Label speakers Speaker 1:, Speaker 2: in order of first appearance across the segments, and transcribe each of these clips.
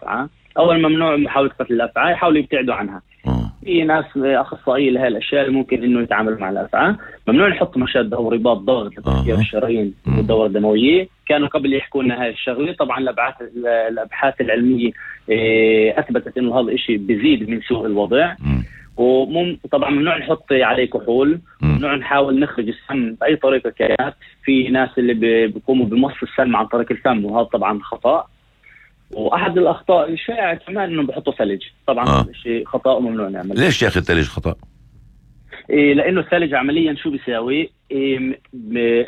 Speaker 1: الأفعى. أول ممنوع محاولة قتل الأفعى، يحاولوا يبتعدوا عنها. في ناس أخصائية لهذه الأشياء ممكن إنه يتعامل مع الأفعى. ممنوع نحط مشد أو رباط ضغط لتسكير الشرايين والدورة الدموية. كانوا قبل يحكوا لنا هاي الشغلة. طبعا الأبحاث العلمية أثبتت إنه هذا الشيء بيزيد من سوء الوضع. طبعا ممنوع نحط عليه كحول، ممنوع نحاول نخرج السم بأي طريقة كانت. في ناس اللي بيقوموا بمص السم عن طريق الفم، وهذا طبعا خطأ. وأحد الأخطاء الشائعة كمان إنه بحطوا ثلج. طبعا شيء خطأ وممنوع نعمل.
Speaker 2: ليش يا أخي الثلج خطأ؟
Speaker 1: لأنه الثلج عمليا شو بيساوي؟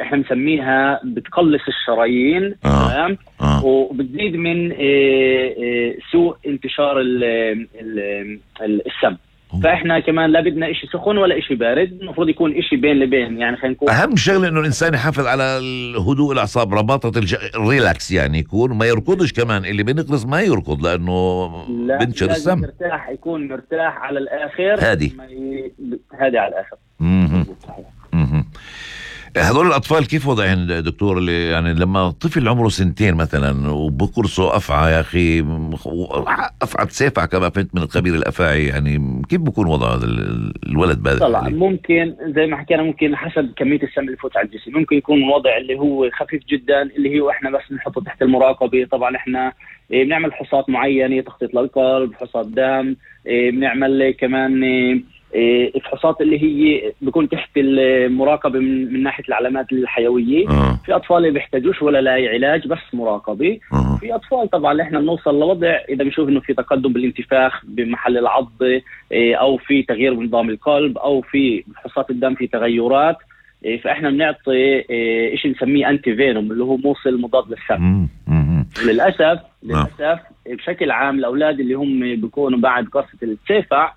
Speaker 1: إحنا مسميها بتقلص الشرايين، تمام؟ وبتزيد من سوء انتشار السم. فإحنا كمان لا بدنا إشي سخن ولا إشي بارد، المفروض يكون إشي بين لبين. يعني خلينا نقول
Speaker 2: أهم شغلة إنه الإنسان يحافظ على الهدوء الأعصاب، رباطة الريلاكس، يعني يكون ما يركضش. كمان اللي بنقرص ما يركض لأنه بنشر السم.
Speaker 1: مرتاح، يكون مرتاح على الآخر،
Speaker 2: هادي
Speaker 1: هادي على الآخر.
Speaker 2: هذول الأطفال كيف وضعهم دكتور؟ اللي يعني لما طفل عمره 2 مثلا وبقرصه أفعى، يا أخي أفعى تسافع كما فهمت من الخبير الأفاعي، يعني كيف بكون وضع هذا الولد بهذا؟
Speaker 1: طبعا ممكن زي ما حكينا، ممكن حسب كمية السم اللي فوت على الجسم. ممكن يكون وضع اللي هو خفيف جدا، اللي هو إحنا بس نحطه تحت المراقبة. طبعا إحنا بنعمل فحوصات معينة، تخطيط للقلب، فحوصات دم، بنعمل كمان الفحوصات اللي هي بيكون تحت المراقبة من ناحية العلامات الحيوية. في أطفال اللي بيحتاجوش ولا لا علاج، بس مراقبة. في أطفال طبعا إحنا بنوصل لوضع إذا بنشوف إنه في تقدم بالانتفاخ بمحل العض، أو في تغيير بنظام القلب، أو في فحوصات الدم في تغيرات، فإحنا بنعطي إشي نسميه أنتي فينوم، اللي هو موصل مضاد للسم. للأسف بشكل عام الأولاد اللي هم بيكونوا بعد قرصة السيفع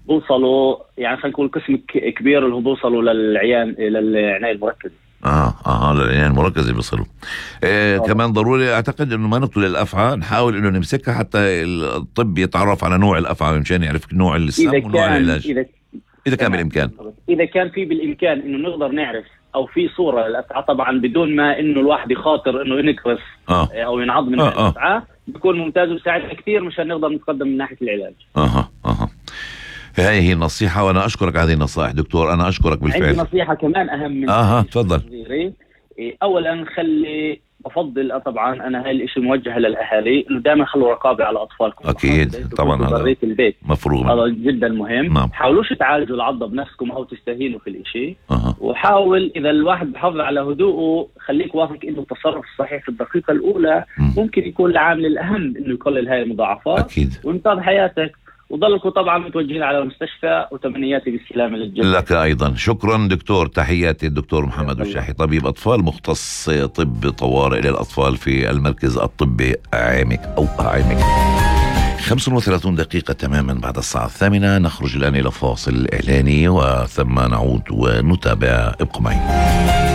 Speaker 1: بوصلوا، يعني خلينا نقول قسم كبير اللي هو بوصلوا للعناية المركزة.
Speaker 2: للعناية المركزة بيصلوا. كمان ضروري أعتقد إنه ما نقتل الأفعى، نحاول إنه نمسكها حتى الطب يتعرف على نوع الأفعى مشان يعرف نوع السم ونوع العلاج. إذا كان بالإمكان،
Speaker 1: إذا كان في بالإمكان إنه نقدر نعرف أو في صورة للأفعى، طبعا بدون ما إنه الواحد يخاطر إنه ينقرص أو ينعض من الأفعى، بيكون ممتاز ويساعدنا كثير مشان نقدر نتقدم من ناحية العلاج.
Speaker 2: هاي هي النصيحة، وأنا أشكرك على هذه النصائح دكتور. أنا أشكرك بالفعل.
Speaker 1: عندي نصيحة كمان أهم من
Speaker 2: تفضل.
Speaker 1: أولا بفضل طبعا أنا هاي الإشي موجه للأهالي، إنه دائما خلوا رقابة على أطفالكم.
Speaker 2: أكيد طبعا، هذا
Speaker 1: البيت
Speaker 2: مفروض،
Speaker 1: هذا جدا مهم. حاولوش تعالجوا العضة بنفسكم أو تستهينوا في الإشي. وحاول إذا الواحد بحافظ على هدوءه، خليك واثق إنه التصرف الصحيح في الدقيقة الأولى ممكن يكون العامل الأهم إنه يقلل هاي المضاعفات.
Speaker 2: أكيد.
Speaker 1: وانقاذ حياتك. وضلكم طبعا متوجهين على المستشفى، وتمنياتي بالسلامة للجميع.
Speaker 2: لك أيضا شكرا دكتور. تحياتي الدكتور محمد الشاحي، طبيب أطفال مختص طب طوارئ للأطفال في المركز الطبي عامك أو عامك. 35 دقيقة تماما بعد الساعة 8. نخرج الآن إلى فاصل إعلاني وثم نعود ونتابع. ابقوا معي.